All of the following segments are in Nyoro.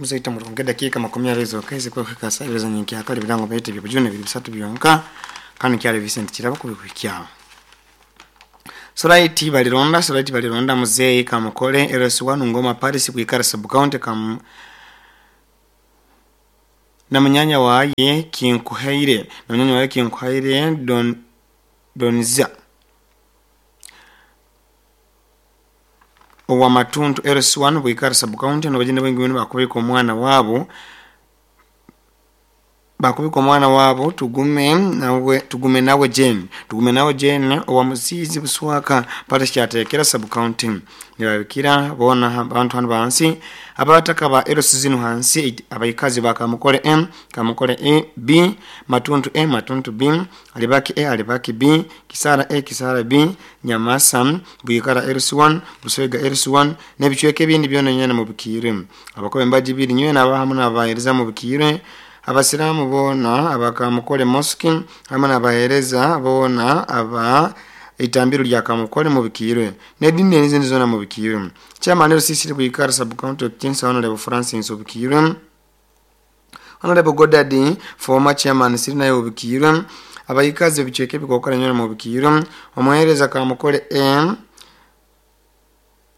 Muzaita murungi dakiika 20 zokka ezikuhika saa ibiri za nyenkyakara, ebirango byaitu ebyobujune biri bisatu byonka, kandi kyali Vincent Kirabo kubikuhikyaho. Solaiti balironda, Solaiti balironda muzeeyi Kamukole LS1 Ngoma Paris Bwikara Sub County kam na munyanya waye Kinkuhaire, na munyanya waye Kinkuhaire Don Donza owa Matuntu LS1 Bwikara Sub County, nabagenda bwingi bwino bakubika omwana wabo, bakubika omwana wabo tugume nawe, tugume nawe Jane, tugume nawe Jane owa Musizi Buswaka Parish kyatekera Sub County. Nibabikira bona abantu hano bansi abataka ba LC zino hansi, abaikazi ba Kamukole M, Kamukole A B, Matuntu A, Matuntu B, Alibaki A, Alibaki B, Kisara A, Kisara B, Nyamasa, Bwikara LC1, Buswega LC1 n'ebicweka ebindi byona nyene mu bikire. Abakobe mbaji biri nywe n'abahamu n'abahereza mu bikire. Abasiramu bona abakamukole mosque hamwe n'abahereza bona aba itambiro lya Kamukole mu bikirwe n'edini n'izindi zona mu bikirwe. Chairman LCC Bwikara Sub County Kinsa Honorable Francis Obikirwe, Honorable Godadi former chairman Sirina Obikirwe, abayikazi ebicweka ebikokora nyona mu bikirwe. Omuhereza Kamukole M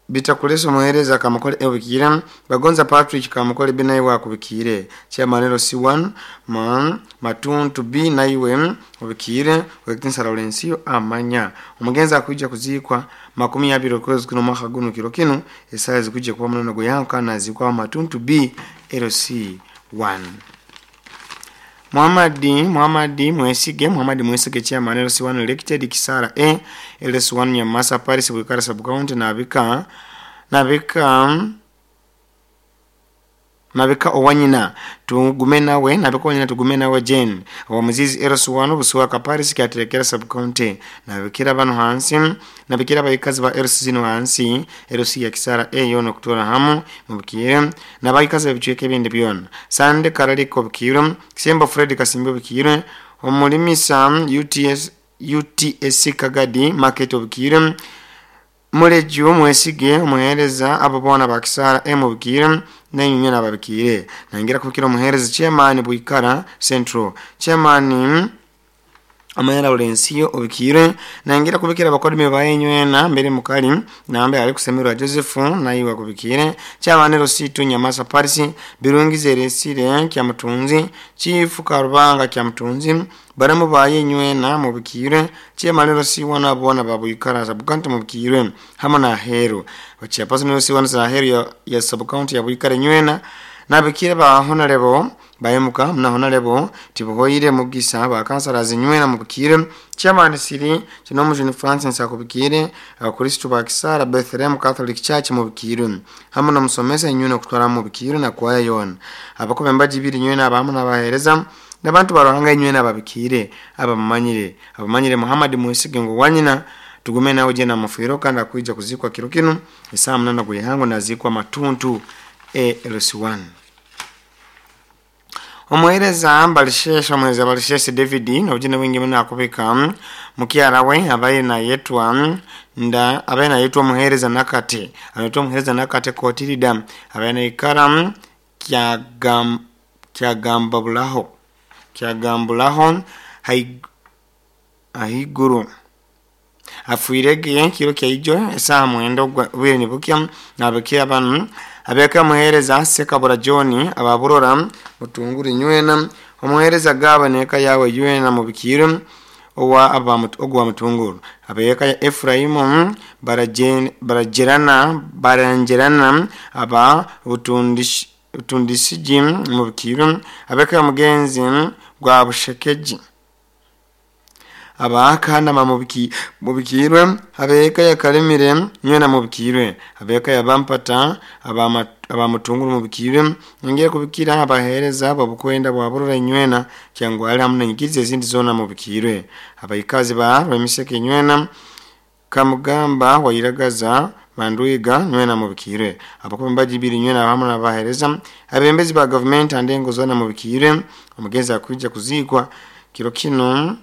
bitakulesa omuhereza Kamukole E Bukire, Bagonza Patrick Kamukole B naye wakubikire, chairman LC1 ma Matuntu B naiwe obikire, Wekinsa Lawrence amanya omugenzi akuija kuzikwa 20 okwezi kuno mwaka guno kiro kino esaha zikujja kuba munono goyanka nazikwa Matuntu B LC1. Muhammadi Muhammadi Mwesige, Muhammadi Mwesige chairman LC1 elected Kisara A LS1 Nyamasa Paris Bwikara Sub County, nabika nabika nabika owanyina tugume nawe, nabika owanyina tugume nawe Jane owa Muzizi LS1 Buswaka Paris kyaterekera Sub County. Nabikira bano hansi, nabikira abayikazi ba LC zino hansi, LC ya Kisara A yono kutora hamu mubikire n'abayikazi ebicweka ebindi byona. Sande Karaliko bikire, Kisembo Fred Kasimbo bikire, omulimisa UTS UTSC Kagadi Market obikire, Muleju Mwesige omuhereza abo bona ba Kisara M bikire nenyunye nababikire. Nangira kubikira omuhereza chairman Bwikara Central, chairman Amanyara Lawrence obikire. Nangira kubikira abakodimi bayenywena mbere mukali nambe ali kusemerwa Joseph nayiwa kubikire, chairman Rositu Nyamasa Paris Birungi Zeresire kya Mutunzi, Chief Karubanga kya Mutunzi, baramu bayenywena mubikire, chairman Rosiwana bona babwikara Sub County mubikire hamwe na Hero bachairperson Rosiwana za Hero ya Sub County ya Bwikara nywena nabikire ba honorable bayemuka mna honorable tibuhoire mugisa ba kansala zinywena mubikire, chairman Siri Kinomujuni Francis akubikire, abakristo ba Kisara Bethlehem Catholic Church mubikire hamwe na musomesa nywena kutwara mubikire na kwaya yona abakobe mbaji biri nywena abamu n'abahereza n'abantu baruhanga nywena ababikire abamanyire abamanyire Muhammad Mwesige ngo wanyina tugume nawe je na mafiro kandi akuija kuzikwa kiro kino isaa 8 gwehango nazikwa Matuntu ALC1. Omuhereza Balishesha, omuhereza Balishesha David nobujine bwingi muno akubika mukyara we abaye nayetwa nda abaye nayetwa omuhereza Nakate, anayetwa omuhereza Nakate Kotirida abaye naikara kyagam kyagambabulaho kyagambulaho ahiguru afuirege kiro kyaijo esaha 9 bwire nibukya nabikira banu abeka muhereza Sekabura John ababurora mutunguru nywena omuhereza gaba neka yawe ywena mubikire owa ogwa mutunguru abeka ya Efraimu barajerana baranjerana aba butundishiji mubikire abeka mugenzi gwa bushekeji abakana mubikirwe abeka ya Kalemire nywena mubikirwe abeka ya Bampata abamutunguru mubikirwe ngiye kubikira abahereza babukwenda bwaburura nywena cyangwa ari hamwe nyigize izindi zona mubikirwe abayikazi ba Rwemiseke nywena Kamugamba wairagaza Manduiga nywena mubikirwe abakombaji biri nywena hamwe n'abahereza abembezi ba government andengo zona mubikirwe omugezi akuja kuzikwa kiro kino.